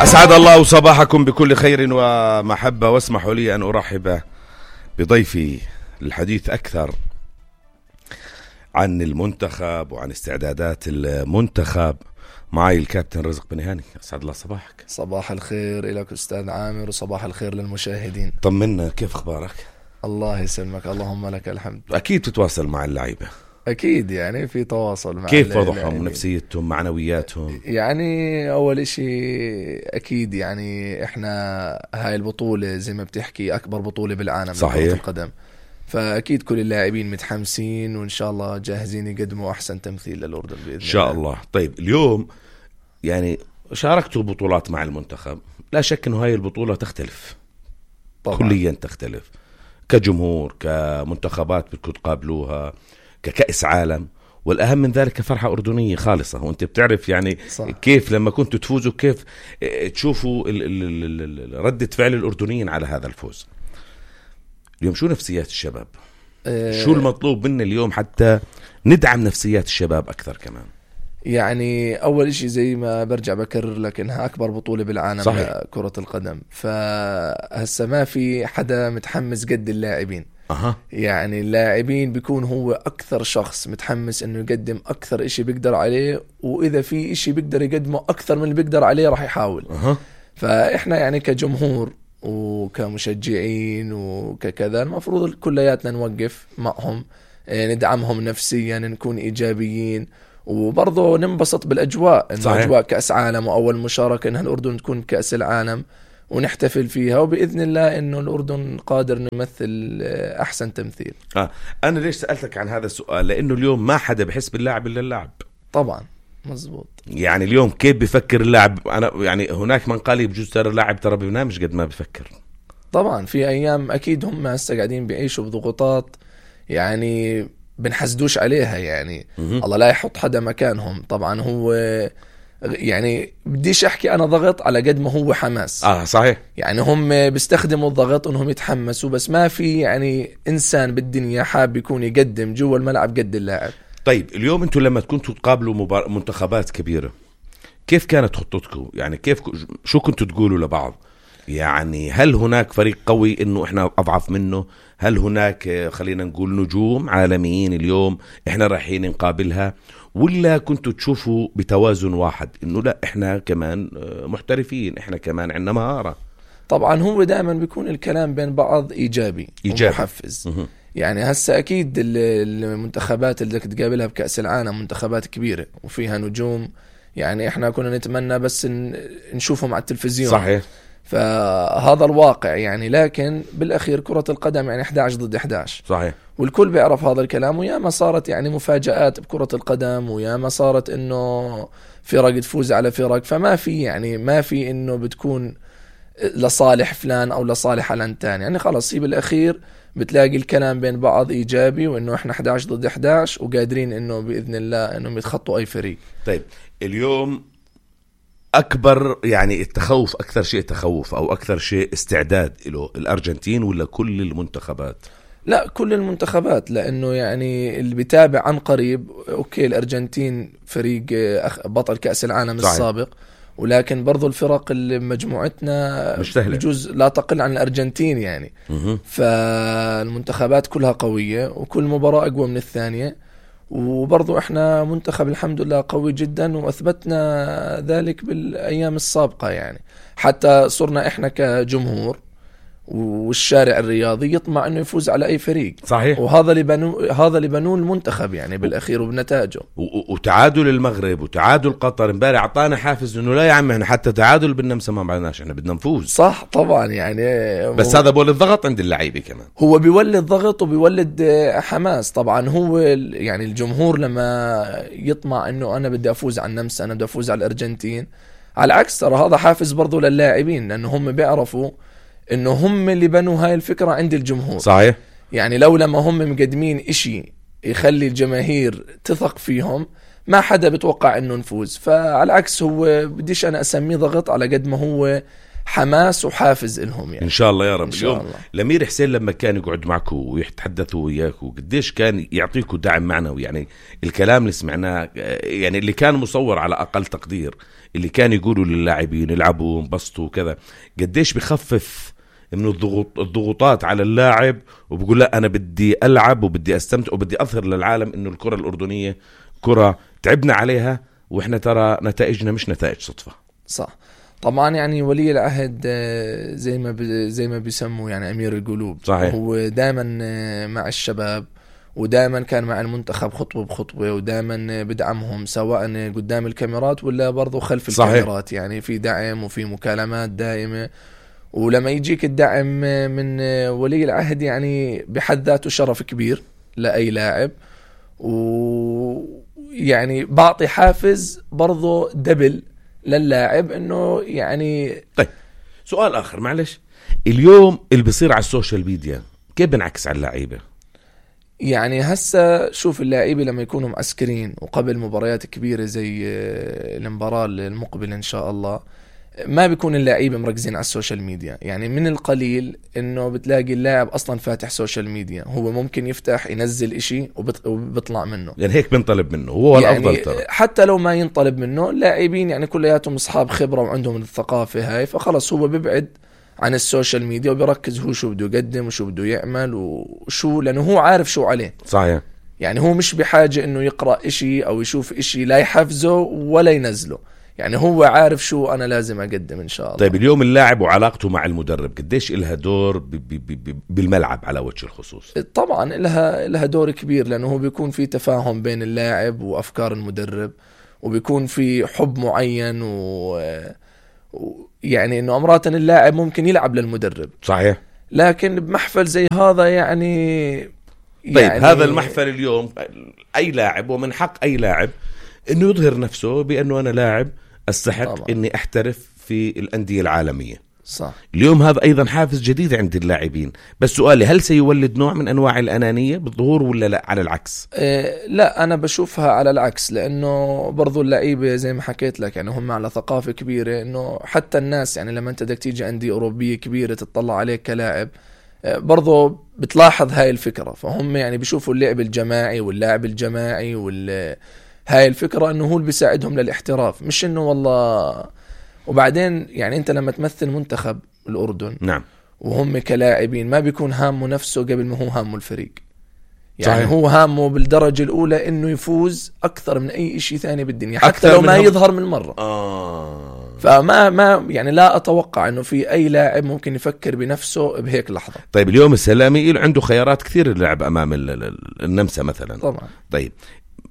أسعد الله صباحكم بكل خير ومحبة، واسمحوا لي أن أرحب بضيفي للحديث أكثر عن المنتخب وعن استعدادات المنتخب. معي الكابتن رزق بن هاني. أسعد الله صباحك. صباح الخير لك أستاذ عامر وصباح الخير للمشاهدين. طمنا، كيف أخبارك؟ الله يسلمك، اللهم لك الحمد. أكيد تتواصل مع اللعيبة. أكيد يعني في تواصل مع كيف وضعهم، نفسيتهم، معنوياتهم؟ يعني أول إشي أكيد يعني إحنا هاي البطولة زي ما بتحكي أكبر بطولة بالعالم لكرة القدم، فأكيد كل اللاعبين متحمسين وإن شاء الله جاهزين يقدموا أحسن تمثيل للأردن بإذن الله. إن شاء الله. طيب اليوم يعني شاركتوا بطولات مع المنتخب، لا شك أنه هاي البطولة تختلف طبعا. كليا تختلف، كجمهور، كمنتخبات بدكم تقابلوها، ككأس عالم، والأهم من ذلك فرحة أردنية خالصة. وأنت بتعرف يعني صح. كيف لما كنتوا تفوزوا كيف تشوفوا ردة فعل الأردنيين على هذا الفوز. اليوم شو نفسيات الشباب؟ شو المطلوب منا اليوم حتى ندعم نفسيات الشباب أكثر كمان؟ يعني أول إشي زي ما برجع بكرر لك إنها أكبر بطولة بالعالم لكرة القدم، فهسه ما في حدا متحمس قد اللاعبين. يعني اللاعبين بيكون هو أكثر شخص متحمس إنه يقدم أكثر إشي بيقدر عليه، وإذا في إشي بيقدر يقدمه أكثر من اللي بيقدر عليه راح يحاول. فإحنا يعني كجمهور وكمشجعين وككذا المفروض كلياتنا نوقف معهم، ندعمهم نفسيا، نكون إيجابيين، وبرضه ننبسط بالأجواء. إنه أجواء كأس عالم وأول مشاركة إنها الأردن تكون كأس العالم ونحتفل فيها، وبإذن الله إنه الأردن قادر نمثل أحسن تمثيل. أنا ليش سألتك عن هذا السؤال؟ لأنه اليوم ما حدا بحس باللاعب إلا اللاعب. طبعا مزبوط. يعني اليوم كيف بفكر اللاعب؟ أنا يعني هناك من قال بجوز ترى اللاعب ترى بينامش قد ما بفكر. طبعا في أيام أكيد هم هسه قاعدين بيعيشوا بضغوطات يعني بنحسدوش عليها، يعني الله لا يحط حدا مكانهم. طبعا هو يعني بديش احكي انا ضغط على قد ما هو حماس. صحيح. يعني هم بيستخدموا الضغط انهم يتحمسوا، بس ما في يعني انسان بالدنيا حاب يكون يقدم جوا الملعب قد اللاعب. طيب اليوم انتم لما كنتوا تقابلوا منتخبات كبيرة كيف كانت خطتكم؟ يعني كيف شو كنتوا تقولوا لبعض؟ يعني هل هناك فريق قوي انه احنا اضعف منه؟ هل هناك خلينا نقول نجوم عالميين اليوم احنا رايحين نقابلها؟ ولا كنتوا تشوفوا بتوازن واحد انه لا احنا كمان محترفين، احنا كمان عندنا مهارة؟ طبعا هو دائما بيكون الكلام بين بعض ايجابي ومحفز. يعني هسه اكيد المنتخبات اللي بدك تقابلها بكأس العالم منتخبات كبيرة وفيها نجوم، يعني احنا كنا نتمنى بس نشوفهم على التلفزيون. صحيح. فهذا الواقع يعني، لكن بالأخير كرة القدم يعني 11 ضد 11. صحيح. والكل بيعرف هذا الكلام، وياما صارت يعني مفاجآت بكرة القدم، وياما صارت إنه فرق تفوز على فرق، فما في يعني ما في إنه بتكون لصالح فلان أو لصالح علان تاني. يعني خلاص هي بالأخير بتلاقي الكلام بين بعض إيجابي، وإنه إحنا 11 ضد 11 وقادرين إنه بإذن الله إنهم يتخطوا أي فريق. طيب اليوم أكبر يعني التخوف، أكثر شيء تخوف أو أكثر شيء استعداد له الأرجنتين ولا كل المنتخبات؟ لا كل المنتخبات، لأنه يعني اللي بيتابع عن قريب أوكي الأرجنتين فريق بطل كأس العالم صحيح. السابق، ولكن برضو الفرق اللي بمجموعتنا بجوز لا تقل عن الأرجنتين يعني. فالمنتخبات كلها قوية وكل مباراة أقوى من الثانية، وبرضو احنا منتخب الحمد لله قوي جدا، واثبتنا ذلك بالايام السابقة. يعني حتى صرنا احنا كجمهور والشارع الرياضي يطمع انه يفوز على اي فريق. صحيح. وهذا اللي بنوه المنتخب يعني بالاخير وبنتائجه. وتعادل المغرب وتعادل قطر امبارح اعطانا حافز انه لا يا عم احنا حتى تعادل بدنا ما معناش، احنا بدنا نفوز. صح طبعا يعني، بس هذا بولد ضغط عند اللعيبه كمان، هو بيولد ضغط وبيولد حماس. طبعا هو يعني الجمهور لما يطمع انه انا بدي افوز على النمسا، انا بدي افوز على الارجنتين، على العكس ترى هذا حافز برضو للاعبين، لانه هم بيعرفوا انه هم اللي بنوا هاي الفكرة عند الجمهور. صحيح. يعني لو لما هم مقدمين اشي يخلي الجماهير تثق فيهم ما حدا بتوقع انه نفوز. فعلى العكس هو بديش انا اسميه ضغط على قد ما هو حماس وحافز إلهم يعني. إن شاء الله يا رب. اليوم الله. الأمير حسين لما كان يقعد معكم ويتحدثوا وياكم قديش كان يعطيكم دعم معنوي؟ يعني الكلام اللي سمعناه، يعني اللي كان مصور على أقل تقدير، اللي كان يقولوا للاعبين يلعبوا انبسطوا وكذا، قديش بخفف من الضغوطات على اللاعب، وبقول لا أنا بدي ألعب وبدي أستمتع وبدي أظهر للعالم إنه الكرة الأردنية كرة تعبنا عليها، وإحنا ترى نتائجنا مش نتائج صدفة. صح. طبعا يعني ولي العهد زي ما بيسموا يعني أمير القلوب. صحيح. هو دائما مع الشباب، ودائما كان مع المنتخب خطوة بخطوة، ودائما بدعمهم سواء قدام الكاميرات ولا برضو خلف الكاميرات. يعني في دعم وفي مكالمات دائمة، ولما يجيك الدعم من ولي العهد يعني بحد ذاته شرف كبير لأي لاعب، ويعني بعطي حافز برضو دبل للاعب انه يعني. طيب سؤال اخر معلش، اليوم اللي بيصير على السوشيال ميديا كيف بنعكس على اللعيبه؟ يعني هسه شوف اللاعبين لما يكونوا معسكرين وقبل مباريات كبيره زي المباراه المقبله ان شاء الله، ما بيكون اللاعبين مركزين على السوشيال ميديا. يعني من القليل انه بتلاقي اللاعب اصلا فاتح سوشيال ميديا، هو ممكن يفتح ينزل اشي وبيطلع منه. يعني هيك بنطلب منه، هو يعني الافضل ترى. حتى لو ما ينطلب منه، اللاعبين يعني كلياتهم اصحاب خبره وعندهم الثقافه هاي، فخلص هو بيبعد عن السوشيال ميديا وبيركز هو شو بده يقدم وشو بده يعمل وشو، لانه هو عارف شو عليه. صحيح. يعني هو مش بحاجه انه يقرا اشي او يشوف اشي لا يحفزه ولا ينزله، يعني هو عارف شو أنا لازم أقدم إن شاء الله. طيب اليوم اللاعب وعلاقته مع المدرب قديش إلها دور بالملعب على وجه الخصوص؟ طبعا إلها دور كبير، لأنه هو بيكون في تفاهم بين اللاعب وأفكار المدرب، وبيكون في حب معين يعني إنه أمرات اللاعب ممكن يلعب للمدرب. صحيح. لكن بمحفل زي هذا يعني طيب هذا المحفل اليوم أي لاعب، ومن حق أي لاعب إنه يظهر نفسه بأنه أنا لاعب أستحق طبعا إني أحترف في الأندية العالمية. صح. اليوم هذا أيضا حافز جديد عند اللاعبين، بس سؤالي هل سيولد نوع من أنواع الأنانية بالظهور ولا لا على العكس؟ لا أنا بشوفها على العكس، لأنه برضو اللعيبة زي ما حكيت لك يعني هم على ثقافة كبيرة، إنه حتى الناس يعني لما أنت بدك تيجي أندية أوروبية كبيرة تطلع عليك كلاعب برضو بتلاحظ هاي الفكرة، فهم يعني بيشوفوا اللعب الجماعي واللاعب الجماعي هاي الفكرة إنه هو اللي بيساعدهم للاحتراف، مش إنه والله. وبعدين يعني أنت لما تمثل منتخب الأردن نعم وهم كلاعبين ما بيكون هامه نفسه قبل ما هو هامه الفريق. يعني صحيح. هو هامه بالدرجة الأولى إنه يفوز أكثر من أي شيء ثاني بالدنيا، حتى لو ما يظهر من مرة. فما يعني لا أتوقع إنه في أي لاعب ممكن يفكر بنفسه بهيك لحظة. طيب اليوم السلامي عنده خيارات كثير اللعب أمام النمسا مثلا. طبعا. طيب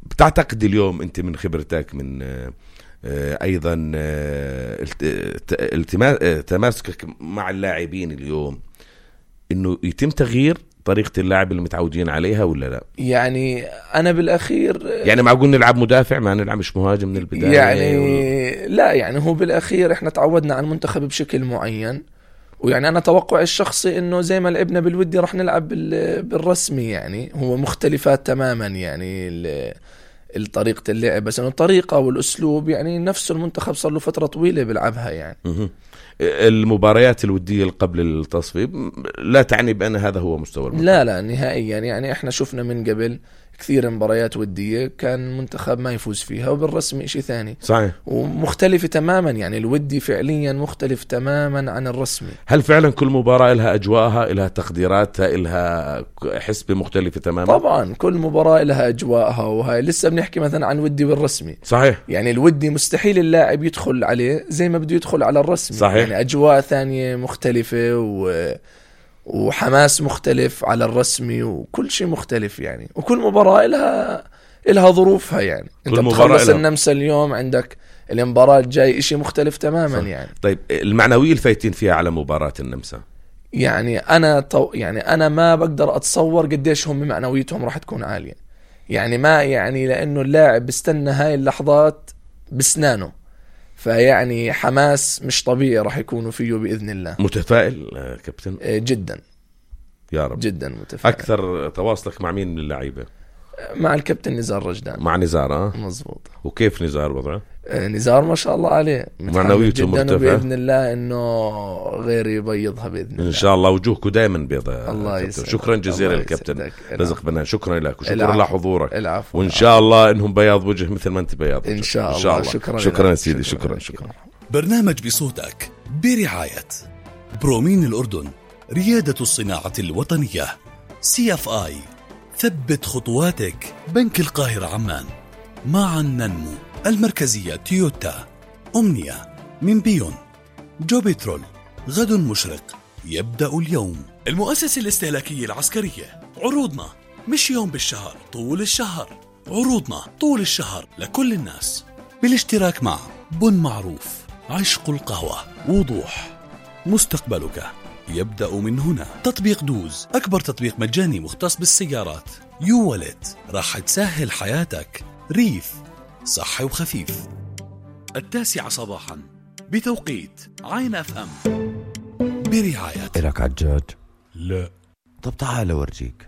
بتعتقد اليوم أنت من خبرتك من أيضا تماسكك مع اللاعبين اليوم إنه يتم تغيير طريقة اللعب اللي متعودين عليها ولا لا؟ يعني أنا بالأخير يعني معقول نلعب مدافع ما نلعب مش مهاجم من البداية يعني لا، يعني هو بالأخير إحنا تعودنا على المنتخب بشكل معين، ويعني أنا توقع الشخصي إنه زي ما لعبنا بالودي رح نلعب بالرسمي. يعني هو مختلفات تماما يعني الطريقة اللعب، بس إنه الطريقة والأسلوب يعني نفس المنتخب صار له فترة طويلة بيلعبها. يعني المباريات الودية قبل التصفية لا تعني بأن هذا هو مستوى المنتخب. لا نهائيا. يعني احنا شفنا من قبل كثير مباريات ودية كان منتخب ما يفوز فيها، وبالرسمي شيء ثاني. صحيح. ومختلفة تماما، يعني الودي فعليا مختلف تماما عن الرسمي. هل فعلا كل مباراة لها أجواءها، لها تقديراتها، لها حسبة مختلفة تماما؟ طبعا كل مباراة لها أجواءها، وهاي لسه بنحكي مثلا عن ودي والرسمي. صحيح. يعني الودي مستحيل اللاعب يدخل عليه زي ما بده يدخل على الرسمي. صحيح. يعني أجواء ثانية مختلفة وحماس مختلف على الرسمي، وكل شيء مختلف يعني. وكل مباراة إلها ظروفها. يعني انت بتخلص النمسا اليوم، عندك المباراة الجاي إشي مختلف تماما. صح. يعني طيب المعنوية الفايتين فيها على مباراة النمسا، يعني أنا ما بقدر أتصور قديش هم معنويتهم راح تكون عالية. يعني ما يعني لأنه اللاعب بيستنى هاي اللحظات بسنانه، فيعني حماس مش طبيعي راح يكونوا فيه بإذن الله. متفائل كابتن؟ جدا يا رب. جدا متفائل. أكثر تواصلك مع مين من اللعيبة؟ مع الكابتن نزار رجدان. مع نزار؟ مزبوط. وكيف نزار وضعه؟ نزار ما شاء الله عليه معنويته مرتفعة بإذن الله إنه غير يبيضها بإذن الله إن شاء الله. وجوهكم دائما بيضاء. الله يسعدك. شكرا جزيلا للكابتن رزق بنان. شكرا لك وشكرا لحضورك. العفو. وإن شاء الله إنهم بياض وجه مثل ما أنت بياض وجه. إن شاء الله. شكرا سيدي. شكرا. برنامج بصوتك برعاية برومين الأردن، ريادة الصناعة الوطنية، CFI، ثبت خطواتك، بنك القاهرة عمان، معا ننمو، المركزية تويوتا، أمنية، من بيون، جو بترول، غد مشرق، يبدأ اليوم، المؤسسة الاستهلاكية العسكرية. عروضنا مش يوم بالشهر، طول الشهر. عروضنا طول الشهر لكل الناس، بالاشتراك مع بن معروف، عشق القهوة، وضوح، مستقبلك يبدأ من هنا. تطبيق دوز، أكبر تطبيق مجاني مختص بالسيارات. يو والت، راح تسهل حياتك. ريف، صحي وخفيف. 9 صباحا بتوقيت عين FM، برعاية. إلك عجاج؟ لا. طب تعال أورجيك.